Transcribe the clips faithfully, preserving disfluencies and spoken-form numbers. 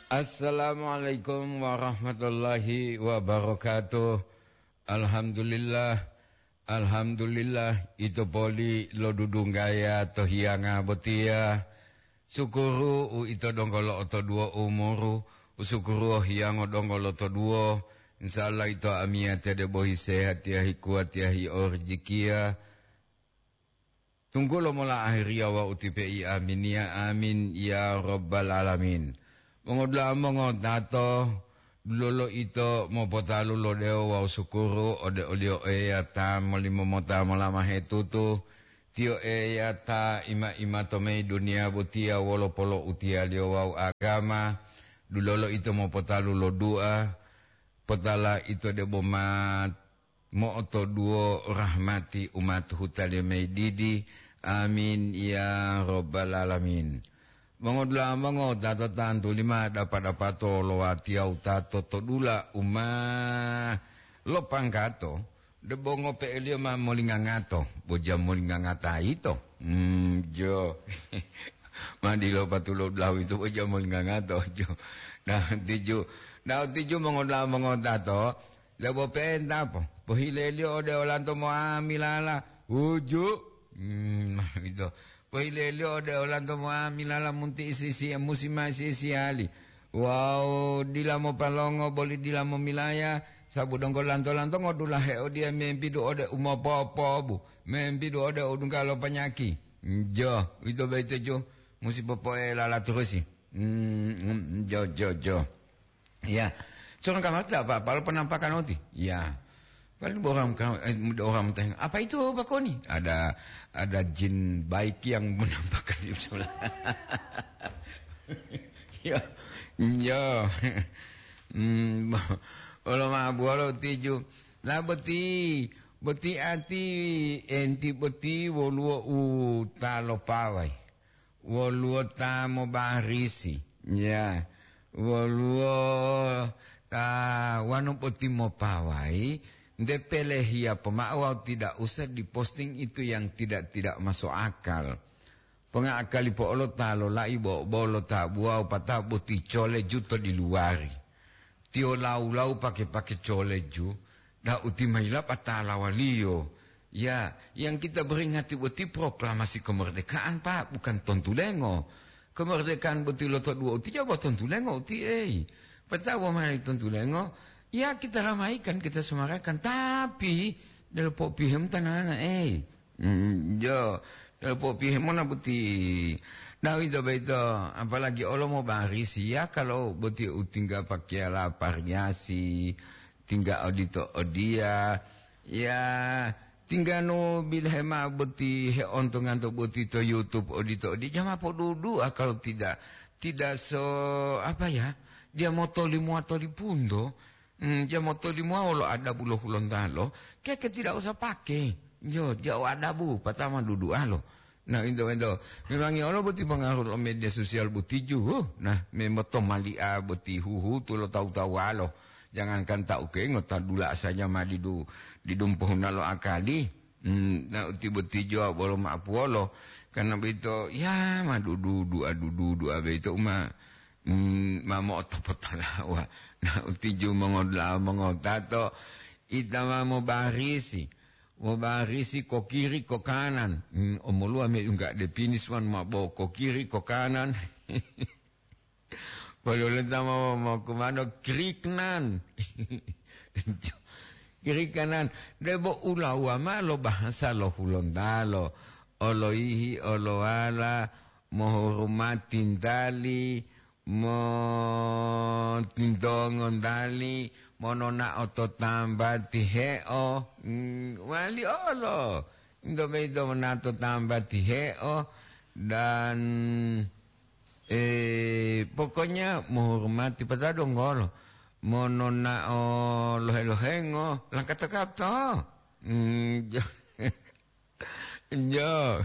Assalamualaikum warahmatullahi wabarakatuh. Alhamdulillah, alhamdulillah, ito poli lo dudunggaya to hiyanga botiya. Sukuru u ito donggo lo'otoduwo umuru, u sukuru hiyango donggo lotoduwo. Insya Allah ito amiyate debo hisehatiya, hikuwatiya, hiorijikiya. Tunggulo mola ahiriya wawu ti pe'i. Aminiya, amin, ya Rabbal Alamin. Mongodula'a mongotato, dulolo ito mopotalu lo dewo wawu sukuru ode oliyo Eya ta molimomota molama hetutu. Tiyo Eya ta ima-ima to mayi duniya botiya wolo polo'utiyaliyo wawu agama. Dulolo ito mopotalu lo du'a, potala ito debo ma mo'otoduwo rahmati umatuhu taliyo mayi didi. Amin, ya Rabbal Alamin. Mongodula'a mongotato, tantuli ma dapa-dapato lo watiya wutato to dula u ma lopanggato, debo ngope'eliyo ma molingangato, bo ja molingangata yito. Hmm, jo. Ma dilo patulo dulahu yito bo ja molingangata, jo. Nah, tiju, nah, tiju mongodula'a mongotato, debo pe'enta po, pohileliyo ode olanto mo'amilala, uju. Hmm, ma ito. Pohileliyo ode olanto mo'amilala munti isi-isi, musi ma isi-isiyali. Wawu dila mopalongo boli dila momilaya, sabu donggo lanto-lanto ngodulahe odiye membidu ode umopopobu, membidu ode odungga lo panyaki. Jo, uwito boyito jo, musi popo'elala turusi. Hmm, hmm, jo, jo, jo. Ya, seorang kamar tidak apa-apa, lo penampakan oti. Ya, paling orang ka-, eh, orang bertanya, "Apa itu, Pak Koni?" Ada, ada jin baik yang menampakkan di sebelah. Ya, ya. Hmm, olo ma bualo tiju. Lah boti, boti ati enti boti woluwo u ta lopawai. Woluwo ta mobarisi, ya, woluwo ta wanu boti mopawayi, nte pelehiya pomao wawu tidak usah diposting itu yang tidak, tidak masuk akal. Pongakali po'olo ta lolai bo-, bolo tabuwa wopata boti cole juto di luwari. Tiyo lau-lau pake-pake coleju, da'u ti ma yilapatala waliyo. Ya, yang kita beringati boti proklamasi kemerdekaan, Pak, bukan tontulengo. Kemerdekaan boti lo to dua uti jabo tontulengo uti, ei. Petawa mai tontulengo, ya kita ramaikan, kita semarakan, tapi delo popihem tanana, ei. Mm, jo, eh, popihe mona boti. Nah, uwito boyito, apalagi olo mobarisi, ya, kalau boti utingga pakiyala pariasi, tingga odito odiya, ya, tingga nu bilahe mao boti heontonganto boti to YouTube odito odiya, jama podudu'a kalau tidak, tidak so, apa ya, dia motolimuwa tolipunto. Hmm, ja motolimowa wolo adabu lo Hulontalo, keke tidak usah pake. Jo, ja'o adabu, patama dudu'alo. Nah, ento, ento. Memangi olo boti pengaruh lo media sosial boti ju. Nah, memotomali'a boti huhutu lo tawu-tawuwalo. Jangankan ta ukengo, ta dula saja ma didu-, didumpohuna lo akali. Hmm, na uti boti jo bolo ma'apuwolo. Karena boyito, ya, ma dudu-, dua dudu-, dua boyito uma Mm, ma mo'otopotalawa. Na utiju mongodula'a mongotato, ita ma mobarisi. Mobarisi ko kiri, ko kanan. Mm, omoluwa me yungga depinis wan ma bo ko kiri, ko kanan. Pololenta ma mo kumano kiri kanan. Kiri kanan. Debo ulawa ma lo bahasa lo Hulontalo. Oloihi, olowala, mohurumati ntali, motintongo ntali, mononao to tambati he'o, mm, wali olo. Into boyito monao to tambati he'o, dan, eh, pokoknya mohurumati patadonggolo, mononao lohe-lohengo, langkata-kata. Mm, jo. Jo.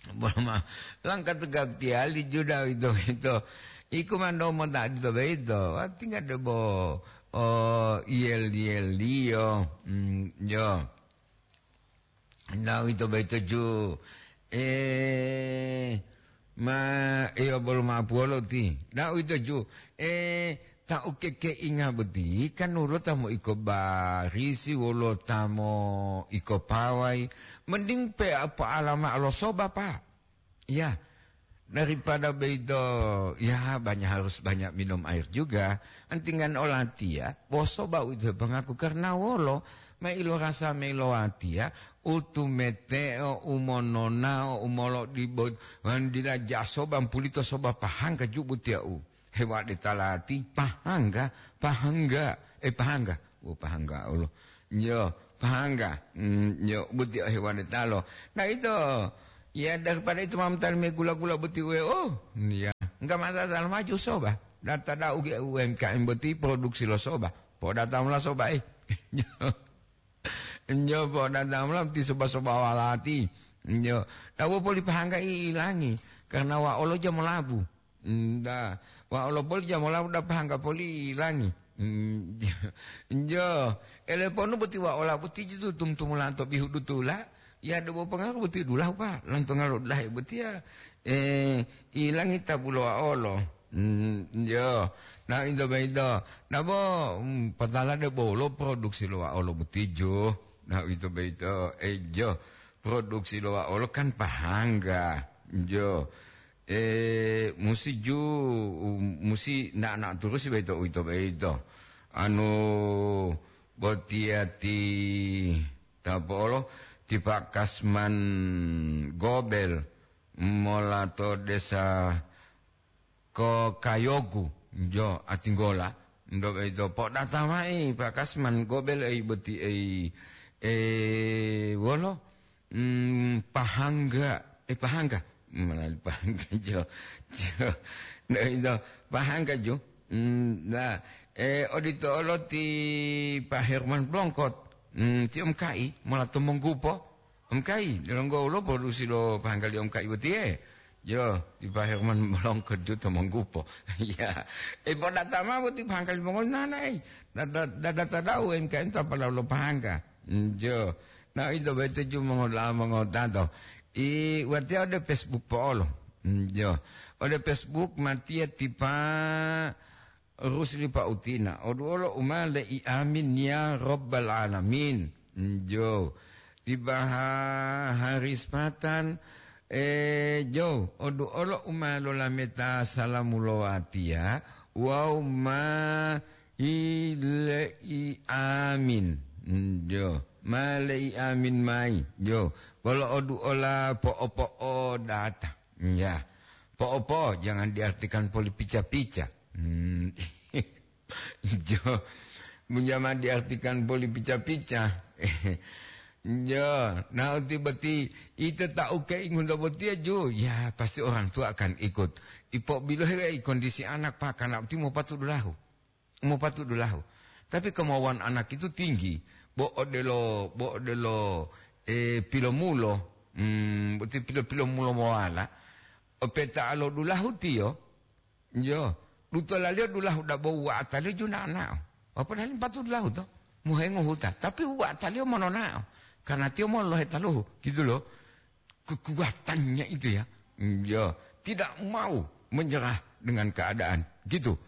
Bolo ma, langkatu gaptiyali juda ito, ito. Iku mando monta adito boyito. Wati nggak debo, oh, iyel-iyel liyo. Hmm, jo. Nah, ito boyito ju. Eh, Ma, iyo, bolo ma'apuwolo ti. Na uwito ju, eh, ta ukekeinga boti, kan wolo ta mo'iko barisi, wolo ta mo'iko pawai. Mending pe apa alama lo soba, Pak. Ya, daripada beito, ya, banyak, harus banyak minum air juga. Antingan olatiya, bo soba uwito hepangaku karena wolo, ma ilo rasa ma ilo watiya, utumeteo, umononao, umolodibo, wandila ja soba, mpulito soba pahangga jubu tiya u. Hewade talati, pahangga, pahangga, eh, pahangga. Oh, pahangga, Allah. Yo, pahangga. Hmm, yo, buti hewade talo. Nah, itu. Ya, daripada itu mamtal me gula-gula buti we. Oh, iya. Enggak masalah, maju soba. Data dau ge U M K M boti produksi lo soba. Po datang lah soba, eh. Njo, po datang lah ti soba-soba walati. Njo. Tawo poli pahangga i ilangi. Karena wa olo jamo labu. Nda. Wa olo poli jamo labu da pahangga poli ilangi. Mm, njo. Eleponu boti wa ola boti jitu tum-tumulanto bihu dutula. Ya, debo pengaruh boti dulahu, Pak. Lanto ngalo dahe boti ya. Eh, ilangi tabulo wa olo. Mm, njo. Nah, into beito. Nabo, mm, patala de bolo produksi lo wa olo boti jo. Nah, into beito. Eh, jo. Produksi lo wa olo kan pahangga. Jo. Eh, musi ju, musi na-, na turusi beito, uwito beito. Anu, botiya ti tapolo, ti Pak Kasman Gobel mola to desa ko Kayogu, jo, Atinggola, ndo beito. Podata mai Pak Kasman Gobel ei boti ei, eh, wolo, mm, pahangga, eh, pahangga. Melalui pahangga, jo. Jo. Nah, itu, pahangga, jo. Mm, nah, eh, odito olo ti Pak Herman Blongkot. Mm, ti M K I, mola to Monggupo. M K I, delonggo ulo produksi lo pahangga li M K I botiye. Jo, ti Pak Herman Blongkot jo to Monggupo. Ya. Eh, podata ma boti pahangga li mongoli nana, eh. Dada, dada tadau M K I ta pala lo pahangga. Mm, jo. Nah, ito beto ju mongola-, mongotato. I, watiya ode Facebook po'olo. Mm, jo. Ode Facebook matiya ti Pak Rusli Pautina. Oduolo uma le'i amin ya Rabbal Alamin. Mm, jo. Ti Baha Haris Patan, eh, jo. Oduolo uma lolameta salamu lo watiya. Wawu ma Hi le'i amin. Mm, jo. Ma le'i amin mayi. Jo. Bolo oduola po'o-po'o data. Ya. Po'o-po'o jangan diartikan poli pica-pica. Hmm. Jo. Jangan diartikan poli pica-pica. Jo. Nah, uti boti ito ta uke ingunto botiya jo. Ya, pasti orang tua akan ikut. Ipo bilohe kondisi anak, Pak, karena uti mau patuh dulahu. Mopatu'u dulahu. Tapi kemauan anak itu tinggi. Bo odelo, bo odelo, eh, pilomulo, mm, boti pilo-pilomulo mowala, opeta lo dulahu tiyo, yo, dutolaliyo dulahu dabo wa'ataliyo junana'o. Padahal patu'u dulahu to, mohengo huta. Tapi wa'ataliyo monona'o. Karena tiyo molohe taluhu, gitu loh. Kekuatannya itu ya. Mm, ya, tidak mau menyerah dengan keadaan. Gitu.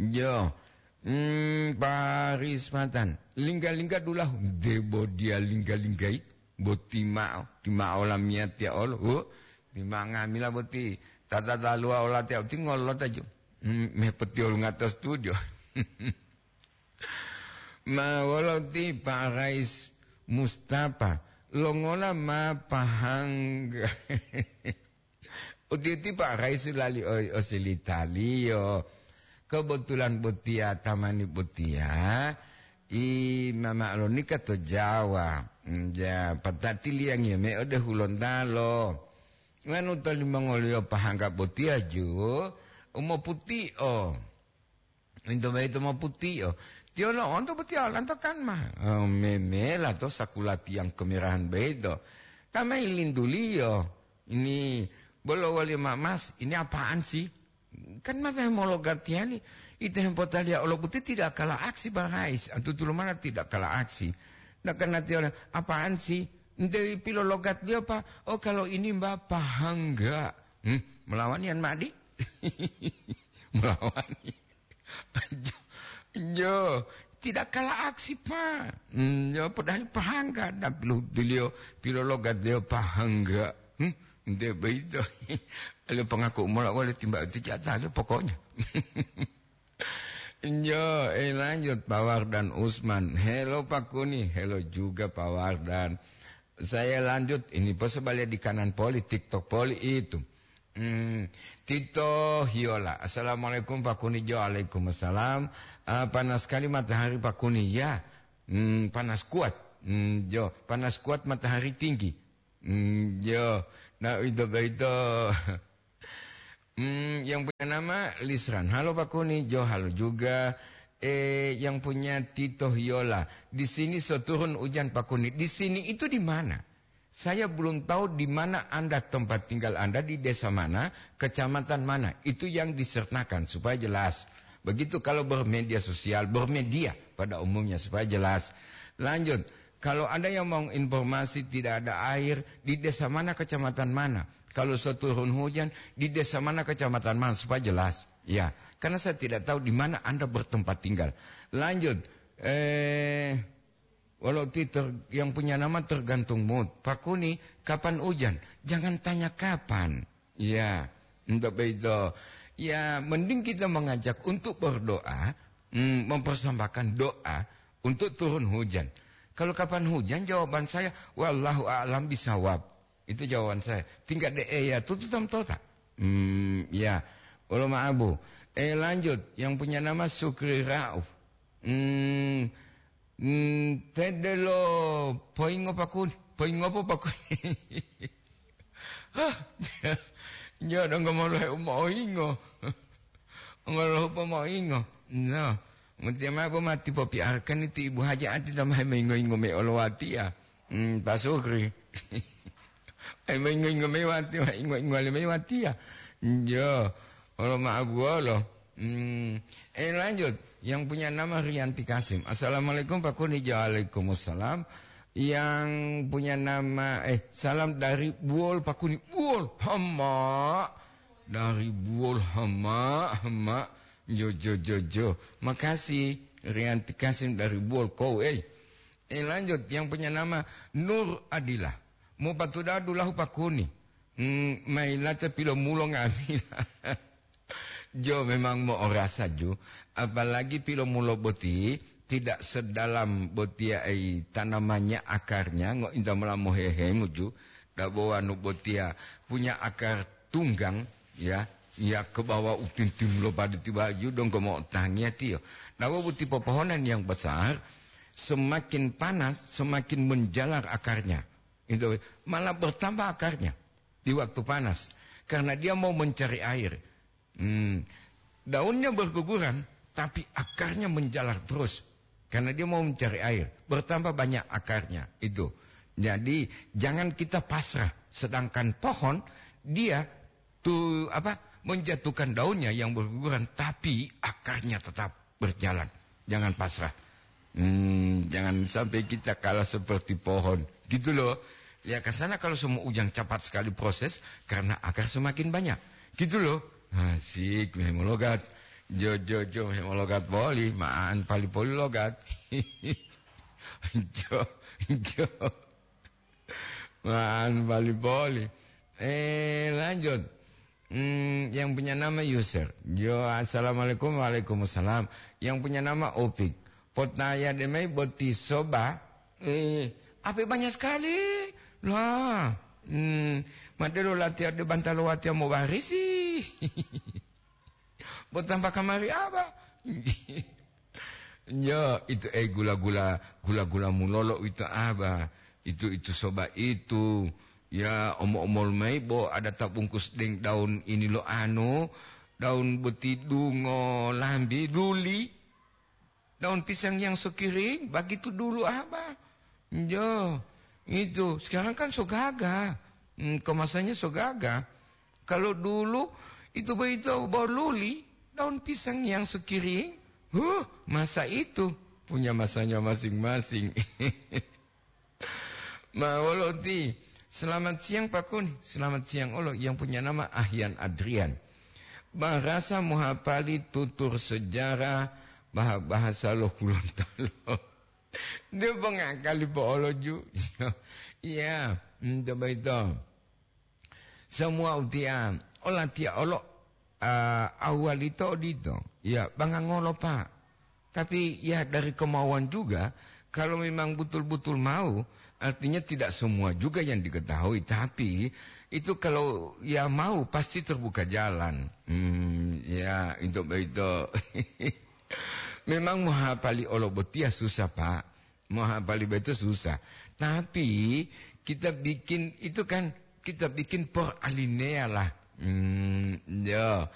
Ya. Hmm, Paris Matan. Lingga-lingga dulahu. Debo dia lingga-linggai. Boti ma'o. Ti ma'o lamiyatiya olo. Oh, ti ma'o ngamila boti. Tata taluwa olatiya uti ngolota ju. Hmm, mepeti olunga to studio. Ma wolo ti Pak Rais Mustafa, longola ma pahangga? Uti-uti Pak Rais lali o-, osilitaliyo. Kebetulan botiya tamani botiya, i mama lonika to Jawa. Ja, patati liyangiyo me ode Hulontalo. Nganu to limongoliyo pahangga botiya ju, umoputio. Into boyito moputio. Tiyo lo'onto botiya olanto kan ma, eh, memela to sakulatiyang kemerahan boyito. Tamai lintuliyo, ini bolo woliyo ma-, Mas, ini apaan sih? Kan masa mologatiya li, ito hempotaliya olo boti tidak kalah aksi, Bang Rais. Antutu lomana tidak kalah aksi. Nah, karena tiyo, apaan sih? Nte pilologatliyo, Pak? Oh, kalau ini, Mbak, pahangga. Hmm? Melawani an ma'adi? Melawani. Jo, jo, tidak kalah aksi, Pak. Hmm, jo, padahal pahangga, tapi lo beliau, pilologat beliau pahangga. Hmm, nde begitu. Lo pengaku mola wale timba itu jatah lo pokoknya. Jo, eh, lanjut, Pak Wardan Usman. Halo, Pak Kuni. Halo juga, Pak Wardan. Saya lanjut, ini pos balik di kanan poli, TikTok poli itu. Hmm, Tito Hiola. "Assalamualaikum, Pak Kuni." Jo, waalaikumsalam. "Ah, panas sekali matahari, Pak Kuni." Ya, hmm, panas kuat. Hmm, jo, panas kuat, matahari tinggi. Hmm, jo, nah, itu, itu. Hmm, yang punya nama Lisran. "Halo, Pak Kuni." Jo, halo juga. Eh, yang punya Tito Hiola. "Di sini so turun hujan, Pak Kuni." Di sini itu di mana? Saya belum tahu di mana Anda, tempat tinggal Anda, di desa mana, kecamatan mana. Itu yang disertakan supaya jelas. Begitu kalau bermedia sosial, bermedia pada umumnya supaya jelas. Lanjut, kalau ada yang mau informasi tidak ada air, di desa mana, kecamatan mana. Kalau seturun hujan, di desa mana, kecamatan mana, supaya jelas. Ya, karena saya tidak tahu di mana Anda bertempat tinggal. Lanjut, eh, walau ti ter-, yang punya nama tergantung mood. "Pak Kuni, kapan hujan?" Jangan tanya kapan. Ya, untuk begitu. Ya, mending kita mengajak untuk berdoa, hmm, mempersembahkan doa untuk turun hujan. Kalau kapan hujan, jawaban saya, "Wallahu a'lam bisawab." Itu jawaban saya. Tingkat de ya tutu tam tota. Hmm, ya. Olo ma'abu. Eh, lanjut. Yang punya nama Sukri Rauf. Hmm, hmm, tedelo poingo pakun. Poingo po pakun. Hah, nyo dong ngomong lohe umo oingo. Ngolohupo moingo. No. Mutia mabo mati popiarkan itu ibu haja ati tamahe moingo-ingo me olo watiya. Hmm, Pak Sukri. Ai moingo-ingo me wati, ingo-ingo le me watiya. Jo. Olo maabuwolo. Hmm. Eh, lanjut. Yang punya nama Rianti Kasim. "Assalamualaikum, Pak Kuni." Waalaikumsalam. Yang punya nama, eh, salam dari Buol, Pak Kuni. Buol, hama. Dari Buol, hama, hama. Jo, jo, jo, jo. Makasih, Rianti Kasim dari Buol, kau, eh. Eh, lanjut, yang punya nama Nur Adila. Mau patuda dulahu Pak Kuni. Hmm, mailata pilomulo ngamila. Jo, memang mo'orasa ju, apalagi pilomulo boti tidak sedalam botiya ei tanamannya, akarnya, ngointa mola mohehengu ju, dabo wanu botiya punya akar tunggang, ya, ya ke bawah utintim lo pada tiba ju dong ke mo'otangiya tiyo. Dabo boti popohonan yang besar, semakin panas, semakin menjalar akarnya. Itu malah bertambah akarnya di waktu panas, karena dia mau mencari air. Hmm, daunnya berguguran, tapi akarnya menjalar terus, karena dia mau mencari air. Bertambah banyak akarnya itu. Jadi, jangan kita pasrah. Sedangkan pohon, dia tu apa, menjatuhkan daunnya yang berguguran, tapi akarnya tetap berjalan. Jangan pasrah. Hmm, jangan sampai kita kalah seperti pohon. Gitu loh. Ya, ke sana kalau semua ujang cepat sekali proses, karena akar semakin banyak. Gitu loh. Asik, mehemologat. Jo, jo, jo, mehemologat boli. Maan pali poli logat. Jo, jo. Maan pali poli. Eh, lanjut. Hmm, yang punya nama Yusir. Jo, assalamualaikum. Waalaikumsalam. Yang punya nama Opik. Potaya demai boti soba. Eh, apa banyak sekali? Lah, hmm, madero latihan de bantalo watia mau barisi. Botambah kamari apa? Ya, itu, eh, gula-gula, gula-gula mulolo itu apa? Itu, itu soba itu. Ya, omo-omol mai bo ada tabungkus deng daun ini lo anu, daun boti dungo lambi, luli. Daun pisang yang sekiring, begitu dulu apa? Jo, itu. Sekarang kan so gaga. Hmm, kemasannya so gaga. Kalau dulu, itu begitu bo luli, daun pisang yang sekiring. Huh, masa itu punya masanya masing-masing. Ma wolo ti, Selamat siang Pak Kun, selamat siang olo yang punya nama Ahyan Adrian. Barasa mohapali tutur sejarah bah-, bahasa lo Gorontalo. Dia bangakali po olo ju. Iya, hmm, coba itu. Semua utia, ola tia olo, ah, awalito odito. Ya, bangangolo Pak. Tapi ya dari kemauan juga, kalau memang betul-betul mau, artinya tidak semua juga yang diketahui. Tapi itu kalau ya mau pasti terbuka jalan. Hmm, ya, itu begitu. Memang mohapali olo botia susah, Pak. Mohapali beto susah. Tapi kita bikin itu kan, kita bikin per alinea lah. Hmm, ya.